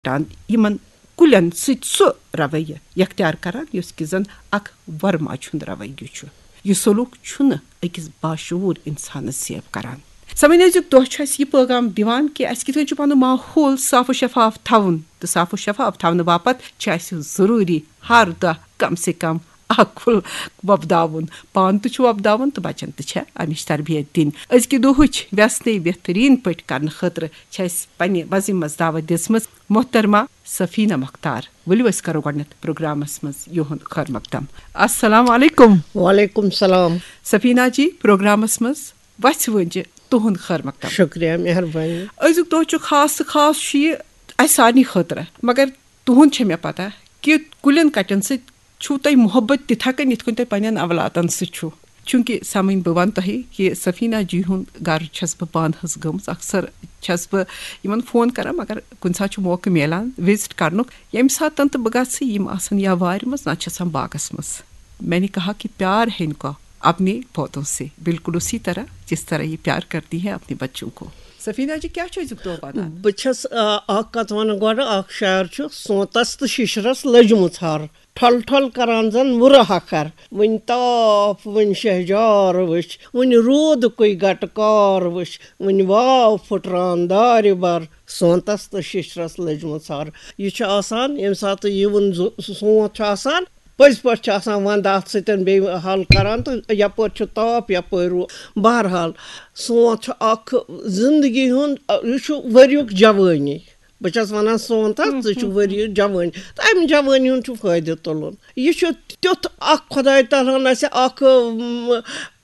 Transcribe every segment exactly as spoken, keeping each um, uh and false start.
ٹان یِمن کُلٮ۪ن سۭتۍ سُہ رویہ اختیار کران، یُس کہِ زن اکھ ورما چھُنہٕ رویہ چھُ۔ یہِ سلوک چھُنہٕ أکِس باشعوٗر اِنسانس سیو کران۔ سمعین، أزیُک دۄہ چھُ اَسہِ یہِ پیغام دِوان کہِ اَسہِ کِتھ کٔنۍ چھُ پنُن ماحول صاف و شفاف تھاوُن، تہٕ صاف و شفاف تھاونہٕ باپتھ چھِ اَسہِ ضروٗری ہر دۄہ کم سے کم اکھ کُل وۄپداوُن، پانہٕ تہِ چھُ وۄپداوُن تہٕ بچن تہِ چھےٚ امِچ تربیت دِنۍ۔ أزکہِ دۄہٕچ وٮ۪ژھ نٔے بہتریٖن پٲٹھۍ کرنہٕ خٲطرٕ چھِ اَسہِ پننہِ وزن منٛز دعوت دِژمٕژ محترمہ سفینہ مختار۔ ؤلِو أسۍ کرو گۄڈٕنٮ۪تھ پروگرامس منٛز یِہُنٛد خٲر مقدم۔ السلام علیکم۔ وعلیکم السلام۔ سفینہ جی، پروگرامس منٛز وژھِ وٲنجہِ تُہُنٛد خٲر مقدم۔ شُکریہ، مہربٲنی۔ أزیُک دۄہ چھُ خاص تہٕ خاص چھُ یہِ اَسہِ سارنٕے خٲطرٕ، مگر تُہُنٛد چھےٚ مےٚ پتہ کہِ کُلٮ۪ن کَٹٮ۪ن سۭتۍ چھُو تۄہہِ محبت تِتھا کٔنۍ یِتھ کٔنۍ تۄہہِ پننٮ۪ن اولادن سۭتۍ چھُو۔ چوٗنٛکہِ سمعین، بہٕ وَنہٕ تۄہہِ کہِ سفینہ جی ہُنٛد گرٕ چھَس بہٕ پانہٕ حظ گٔمٕژ، اکثر چھَس بہٕ یِمن فون کران، مگر کُنہِ ساتہٕ چھُ موقعہٕ میلان وزٹ کرنُک۔ ییٚمہِ ساتہٕ تہِ بہٕ گژھٕ، یِم آسن یا وارِ منٛز، نتہٕ چھِ آسان باغس منٛز۔ میں نے کہا کہ پیار ہے ان کا اپنے پودوں سے، بالکل اسی طرح جس طرح یہ پیار کرتی ہیں اپنے بچوں کو۔ سفینہ جی، کیٛاہ چھُ أزیُک دۄہ وَنان؟ بہٕ چھَس، آ، اکھ کتھ وَنہٕ گۄڈٕ، اکھ شعر چھُ، سونتس تہٕ شِشرس لٔجمٕژ ہر، ٹھۄل ٹھۄل کران زن وُرٕ ہکھر۔ وٕنہِ تاپھ، وٕنہِ شہجار وٕچھ، وٕنہِ روٗدکُے گٹہٕ کار وٕچھ، وٕنہِ واو پھُٹران دارِ بر، سونتس تہٕ شِشرس لٔجمٕژ ہر۔ یہِ چھُ آسان، ییٚمہِ ساتہٕ یِوُن زُ-، سونت چھُ آسان، پٔزۍ پٲٹھۍ چھُ آسان ونٛدٕ اَتھ سۭتۍ بیٚیہِ حل کران، تہٕ یپٲرۍ چھُ تاپھ، یپٲرۍ روٗد۔ بہرحال، سونت چھُ اکھ زندگی ہُنٛد، یہِ چھُ ؤریُک جوٲنی۔ بہٕ چھَس وَنان، سونتس، ژٕ چھُ ؤریُک جوٲنی، تہٕ اَمہِ جوٲنی ہُنٛد چھُ فٲیدٕ تُلُن۔ یہِ چھُ تیُتھ اکھ خۄداے تعالیٰ ہن اَسہِ اکھ، م،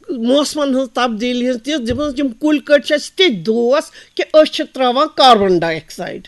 موسمن ہٕنٛز تبدیٖلی ہٕنٛز تِژھ دِژمٕژ، یِم کُلۍ کٔٹۍ چھِ اَسہِ تِتھۍ دوس کہِ أسۍ چھِ ترٛاوان کاربن ڈاے آکسایڈ۔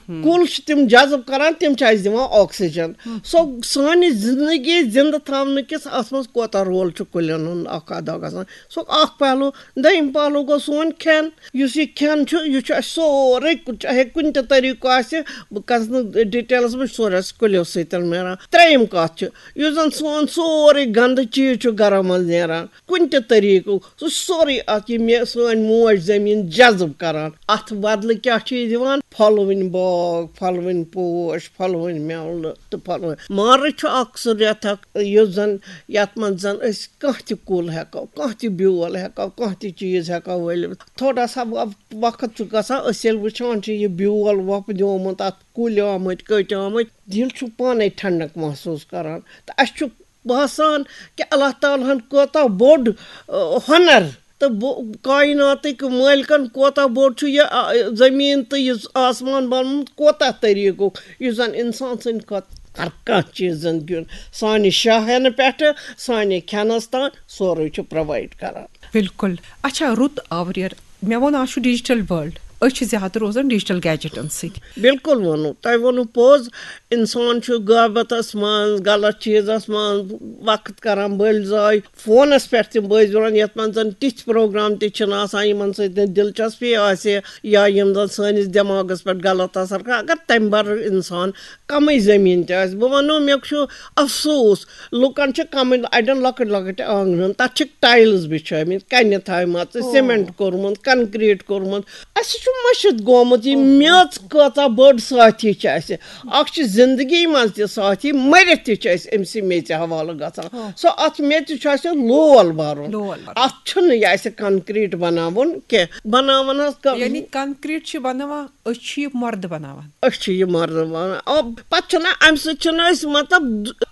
کُل چھِ تِم جذب کران، تِم چھِ اَسہِ دِوان آکسیجن۔ سو سانہِ زندگی زندٕ تھاونہٕ کِس اَتھ منٛز کوٗتاہ رول چھُ کُلٮ۪ن ہُنٛد اکھ ادا گژھان؟ سُہ اکھ پہلو۔ دوٚیِم پہلو گوٚو سون کھٮ۪ن۔ یُس یہِ کھٮ۪ن چھُ، یہِ چھُ اَسہِ سورُے، چاہے کُنہِ تہِ طریٖقہٕ آسہِ، بہٕ کَرٕ نہٕ ڈِٹیلَس منٛز، سورُے اَسہِ کُلیو سۭتۍ میلان۔ ترٛیٚیِم کَتھ چھِ، یُس زَن سون سورُے گنٛدٕ چیٖز چھُ گَرَن منٛز نیران، کُنہِ تہِ طریٖقہٕ، سُہ چھُ سورُے اَتھ یہِ مےٚ سٲنۍ موج زٔمیٖن جذب کَران۔ اَتھ بدلہٕ کیٛاہ چھِ یہِ دِوان؟ پھۄلوٕنۍ باغ، پھۄلوٕنۍ پوش، پھۄلوٕنۍ مٮ۪وٕ تہٕ پھۄلوٕنۍ۔ مارٕچ چھُ اَکھ سُہ رٮ۪تھ اَکھ، یُس زَن، یَتھ منٛز زَن أسۍ کانٛہہ تہِ کُل ہٮ۪کو، کانٛہہ تہِ بیول ہٮ۪کو، کانٛہہ تہِ چیٖز ہٮ۪کو ؤلِتھ۔ تھوڑا سا وق-، وقت چھُ گژھان، أسۍ ییٚلہِ وٕچھان چھِ یہِ بیول وۄپدیومُت، اَتھ کُلۍ آمٕتۍ، کٔٹۍ آمٕتۍ، دِل چھُ پانَے ٹھنڈک محسوٗس کران۔ تہٕ اَسہِ چھُ باسان کہِ اللہ تعالیٰ ہَن کوٗتاہ بوٚڑ، آ، ہُنر تہٕ بو-، کائناتٕکۍ مٲلکَن کوٗتاہ بوٚڑ چھُ یہِ، آ، زٔمیٖن تہٕ یہِ آسمان بنومُت، کوٗتاہ طریٖقُک، یُس زَن اِنسان سٕنٛدِ کھۄتہٕ ہر کانٛہہ چیٖز زندگی ہُنٛد سانہِ شاہ ہٮ۪نہٕ پٮ۪ٹھٕ سانہِ کھٮ۪نَس تام سورُے چھُ پرووایڈ کران۔ بالکل۔ اچھا، رُت آوریر، مےٚ ووٚن، آز چھُ ڈیجیٹل ورلڈ، أسۍ چھِ زیادٕ روزان ڈیجیٹل گیجٹن سۭتۍ۔ بالکل ووٚنوُ تۄہہِ، ووٚنوُ پوٚز۔ اِنسان چھُ غٲبتس منٛز، غلط چیٖزس منٛز وقت کران بٔلۍ ضایع، فونس پٮ۪ٹھ تِم بٲزۍ وَنان، یَتھ منٛز زَن تِتھۍ پروگرام تہِ چھِنہٕ آسان، یِمن سۭتۍ نہٕ دلچسپی آسہِ یا یِم زَن سٲنِس دٮ۪ماغس پٮ۪ٹھ غلط اثر کران۔ اگر تَمہِ بدلہٕ اِنسان کمٕے زٔمیٖن تہِ آسہِ، بہٕ وَنو، مےٚ چھُ افسوٗس، لُکن چھِ کمٕے، اَڑٮ۪ن لۄکٕٹۍ لۄکٕٹۍ آنٛگنن، تَتھ چھِکھ ٹایلز بِچھٲومٕتۍ، کَنہِ تھاوِمَژٕ، او۔ سیمنٹ کوٚرمُت، کنکریٹ کوٚرمُت۔ اَسہِ چھُ مٔشِتھ گوٚمُت یہِ، اوہو۔ میٚژ کۭژاہ بٔڑ ساتھی چھِ اَسہِ۔ اکھ چھِ زندگی منٛز تہِ ساتھی، مٔرِتھ تہِ چھِ أسۍ أمۍ سٕے میٚژِ حوالہٕ گژھان۔ ہاں۔ سۄ، اَتھ میٚژِ چھُ اَسہِ لول بَرُن۔ لول بَرُن۔ اَتھ چھُنہٕ یہِ اَسہِ کنکریٹ بَناوُن کینٛہہ۔ بَناوان حظ کَ-، یعنی کنکریٹ چھِ بَناوان، أسۍ چھِ یہِ مۄردٕ بَناوان۔ أسۍ چھِ یہِ مۄردٕ بَناوان۔ آ، پَتہٕ چھُنہ اَمہِ سۭتۍ چھُنہٕ أسۍ، مطلب،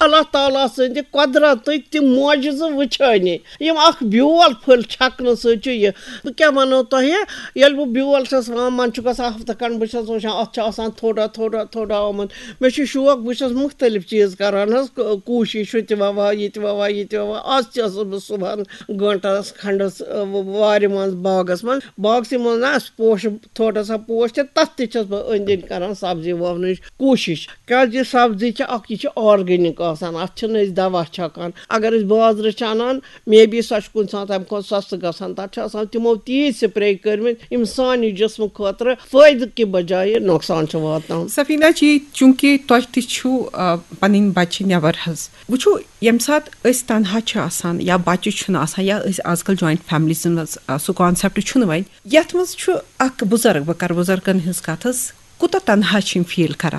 اللہ تعالیٰ سٕنٛدِ قۄدرتٕکۍ تِم معجزٕ وٕچھٲنی۔ یِم اکھ بیول پھٔلۍ چھکنہٕ سۭتۍ چھُ یہِ۔ بہٕ کیٛاہ وَنو تۄہہِ، ییٚلہِ بہٕ بیول چھَس وَوان، منٛزٕ چھُ گژھان ہفتہٕ کھنٛڈ، بہٕ چھَس وٕچھان، اَتھ چھُ آسان تھوڑا، تھوڑا، تھوڑا آمُت۔ مےٚ چھُ شوق، بہٕ چھَس مُختٔلِف چیٖز کَران حظ، ک-، کوٗشِش، ہُہ تہِ وَوان، یہِ تہِ وَوان، یہِ تہِ وَوان۔ آز تہِ ٲسٕس بہٕ صُبحَن گٲنٛٹَس کھنٛڈَس، آ، وارِ منٛز، باغَس منٛز۔ باغسٕے منٛز نہ آسہِ پوشہٕ، تھوڑا سا پوش تہِ، تَتھ تہِ چھَس بہٕ أنٛدۍ أنٛدۍ کَران سبزی وَونٕچ کوٗشِش۔ کیٛازِ یہِ سبزی چھِ اَکھ، یہِ چھِ آرگینِک آسان، اَتھ چھِنہٕ أسۍ دَوا چھَکان۔ اگر أسۍ بازرٕ چھِ اَنان، مے بی سۄ چھِ کُنہِ ساتہٕ تَمہِ کھۄتہٕ سَستہٕ گژھان۔ تَتھ چھِ آسان تِمو تیٖتۍ سپرے کٔرمٕتۍ، یِم سانہِ جسمہٕ خٲطرٕ فٲیدٕ کہِ بجایہِ نۄقصان چھِ واتناوان۔ سفینہ جی، چوٗنٛکہِ تۄہہِ تہِ چھُو، آ، پَنٕنۍ بَچہِ نٮ۪بَر حظ۔ وٕچھِو، ییٚمہِ ساتہٕ أسۍ تنہا چھِ آسان یا بَچہِ چھُنہٕ آسان یا أسۍ آز کَل جویِنٹ فیملیٖزَن منٛز، آ، سُہ کانسیپٹ چھُنہٕ وۄنۍ، یَتھ منٛز چھُ اَکھ بُزرگ، بہٕ کَرٕ بُزرگَن ہٕنٛز کَتھ حظ، کوٗتاہ تنہا چھِ یِم فیٖل کران۔